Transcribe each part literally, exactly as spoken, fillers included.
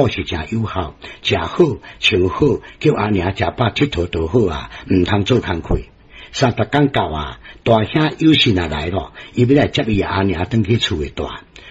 是誠有孝，食好穿好，叫阿娘食飽𨑨迌就好啊，毋通做工課。三十工到啊，大兄有信啊來咯，伊欲來接伊阿娘轉去厝內蹛。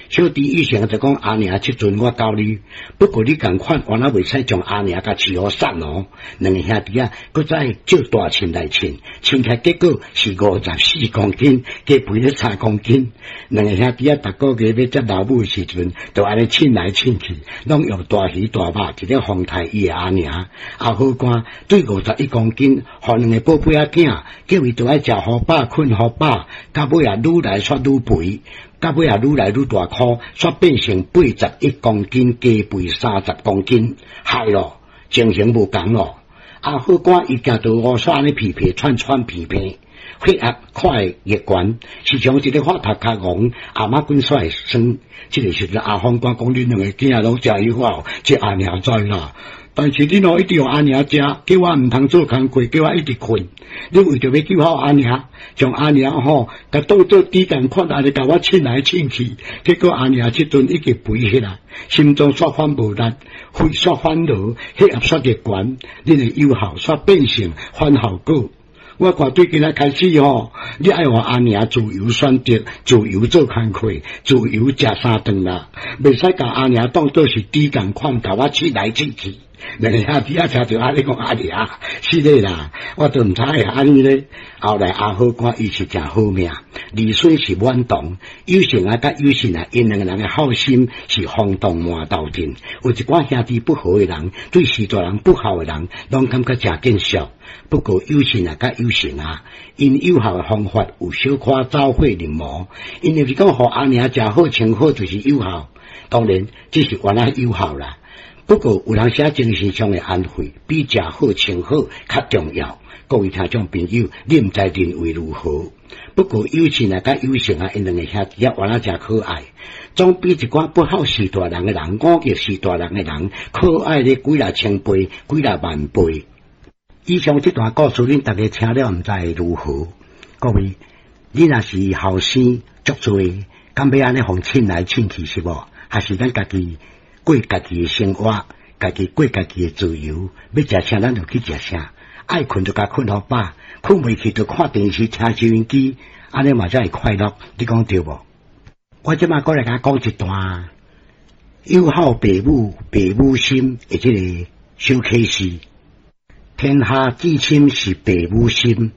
小弟以前就講阿娘這陣我教你，不過你仝款，原來袂使將阿娘共飼予瘦哦。兩个兄弟仔，閣再借大秤來稱，稱起來結果是五十四公斤，加肥了三公斤。兩個兄弟仔逐個月欲接老母的時陣，就按呢稱來稱去，攏用大魚大肉佇咧風刣伊的阿娘。阿好官對五十一公斤，予兩个寶貝仔囝，叫伊著愛食予飽，睏予飽，到尾啊愈來煞愈肥。到尾啊，愈來愈大箍，煞變成八十一公斤，加肥三十公斤，害咯，情形無仝咯。阿好官伊行到烏煞按呢皮皮喘喘皮皮，血壓看會越懸，時常一个發頭較戇，阿媽滾煞會酸。這个時陣阿方官講：恁兩個囝攏誠有孝，這阿娘知啦。但是恁哦一直予阿娘食，叫我毋通做工課，叫我一直睏。你為著欲救孝阿娘，將阿娘吼，共當做豬仝款，按呢共我稱來稱去，結果阿娘這陣已經肥起來，心臟煞反無力，肺煞反勞，血壓煞會懸，恁的有孝煞變成反效果。我看對今仔開始吼，你愛予阿娘自由選擇，自由做工課，自由食三頓啦，袂使共阿娘當做是豬仝款，共我稱來稱去。兩个兄弟仔聽著按呢講阿娘，是的啦，我都毋知會按呢咧。後來阿好官伊是誠好命，兒孫是滿堂，有成啊佮有信啊，𪜶兩個人的孝心是轟動滿頭鎮。有一寡兄弟不和的人，對序大人不孝的人，攏感覺誠見笑。不過有信啊佮有成啊，𪜶有孝的方法有小可走火入魔，𪜶就是講予阿娘食好穿好就是有孝，當然這是原來有孝啦。不過有當時精神上的安慰，比食好穿好較重要。各位聽眾朋友，你毋知認為如何？不過有信啊，佮有成啊，𪜶兩个兄弟仔原來誠可愛，總比一寡不孝序大人的人、忤逆序大人的人可愛咧幾若千倍、幾若萬倍。以上這段故事，恁逐家聽了毋知會如何？各位，你若是後生足濟，敢欲按呢予稱來稱去是無？還是咱家己過家己的生活，家己過家己的自由，欲食啥咱就去食啥，愛睏就共睏予飽，睏袂去就看電視、聽收音機，按呢嘛才會快樂。你講對無？我這馬閣來共講一段有孝爸母、爸母心的這個小啟示。天下至親是爸母心，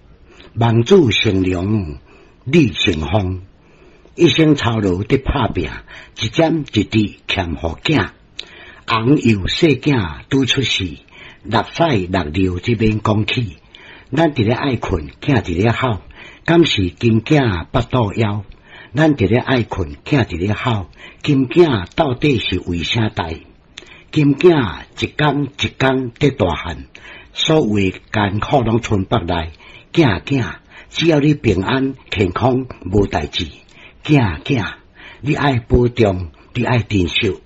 望子成龍你成鳳，一生操勞佇拍拚，一點一滴欠予囝。翁幼細囝拄出世，搦屎搦尿這免講起。咱佇咧愛睏，囝佇咧哭，敢是金囝腹肚枵？咱佇咧愛睏，囝佇咧哭，金囝到底是為啥代？金囝一工一工佇大漢，所有的艱苦攏吞腹內。囝囝，只要你平安健康無代誌。囝囝，你愛保重，你愛珍惜。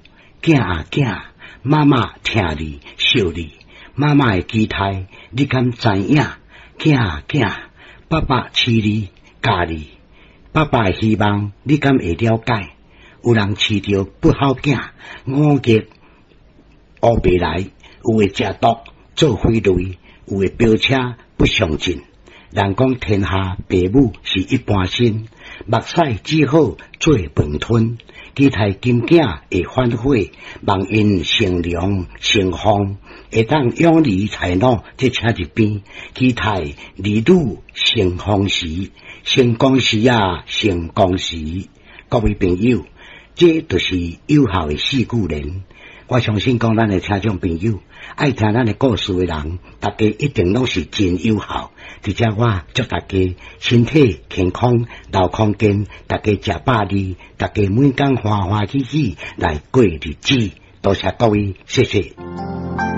囝啊囝，媽媽疼你惜你，媽媽的期待你敢知影？囝啊囝，爸爸飼你教你，爸爸的希望你敢會了解？有人飼著不孝囝，忤逆烏白來，有的食毒做匪類，有的飆車不上進。人講天下爸母是一般心，目屎只好做飯吞。期待金囝會反悔，望𪜶成龍成鳳，會當養兒才老，這請一邊。期待兒女成功時，成功時啊，成功時。各位朋友，這就是有孝的四句聯。我相信講咱的聽眾朋友，愛聽咱的故事的人，大家一定攏是真有孝。佇遮我祝大家身體健康，流康健，大家食飽膩，大家每工歡歡喜喜來過日子。多謝各位，謝謝。